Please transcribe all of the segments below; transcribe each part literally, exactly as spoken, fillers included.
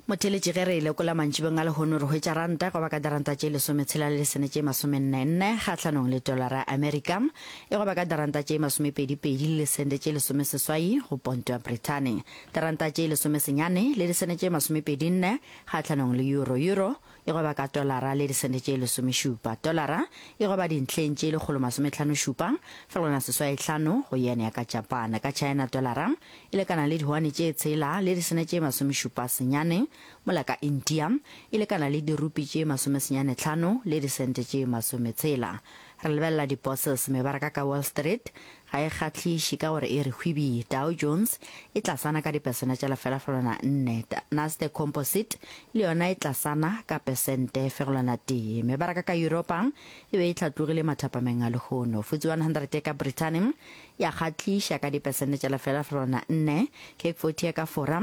Motheeletši ge re e lekola mantšibeng a lehono re hwetša ranta e goba ka diranta tše lesometshela le lesene tše masomenne-nne kgahlanong le tolara ya Amerika, e goba ka diranta tše masomepedi-pedi le lesente tše lesomeseswai go ponto ya Brithani, diranta tše lesomesenyane le disene tše masomepedi-nne kgahlanong le euro, euro e goba ka tolara le disente tše lesomešupa, tolara e goba dintlheng tše lekgolo masometlhano-šupa fegelwana seswai hlano go yen ya ka Japan, ka China tolara e lekana le dihuane tše tshela le disene tše masomešupa senyane, mola ka India e lekana le dirupi tše masomesenyane hlano le disente tše masometshela. Re lebelela di-bourses, mebaraka ka Wall Street ga e kgahliše ka gore e re hwibi. Dow Jones e tlasana ka dipesene tša lefela-fegelwana nne, Nasdaq Composite le yona e tlasana ka pesente fegelwana tee. Mebaraka ka Yuropa e be e hlatlogile mathapameng a lehono. F T S E one hundred ya ka Brithani ya kgahliša ka dipesente tša lefela-fegelwana nne, C A C forty ya ka Fora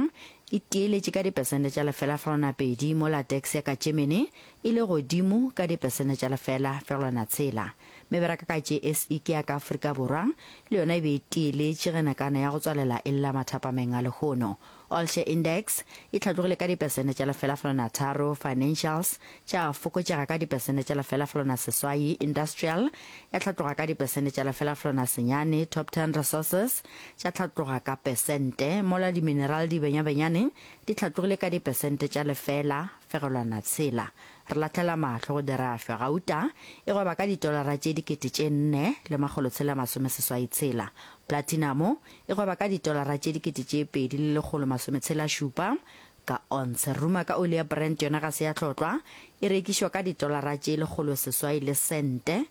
e tieletše ka dipesente tša lefela-fegelwana pedi, mola DAX ya ka Germany e le godimo ka dipesente tša lefela-fegelwana tshela. Meberaka ka J S E ke ya ka Afrika Borwa le yona e be e tieletše ge nakana ya go tswalela e lla mathapameng a lehono. All Share Index e hlatlogile ka dipesente tša lefela-fegelwana tharo, Financials tša fokotšega ka dipesente tša lefela-fegelwana seswai, Industrial ya hlatloga ka dipesente tša lefela-fegelwana senyane, Top Ten Resources tša hlatloga ka pesente, mola dimineral di benyabenyane di hlatlogile ka dipesente tša lefela-fegelwana tshela. Re lahlela mahlo go dirašwa. Gauta e gweba ka ditolara tše dikete tše nne le makgolo tshela masome seswai tshela. Platinamo e gweba ka ditolara tše dikete tše pedi le lekgolo masome tshela šupa ka onse. Ruma ka oli ya Brent yona ga se ya hlotlwa, e rekišwa ka ditolara tše lekgolo seswai le sente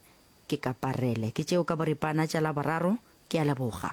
ke ka parele. Ke tšeo ka boripana tša Laboraro. Ke a leboga.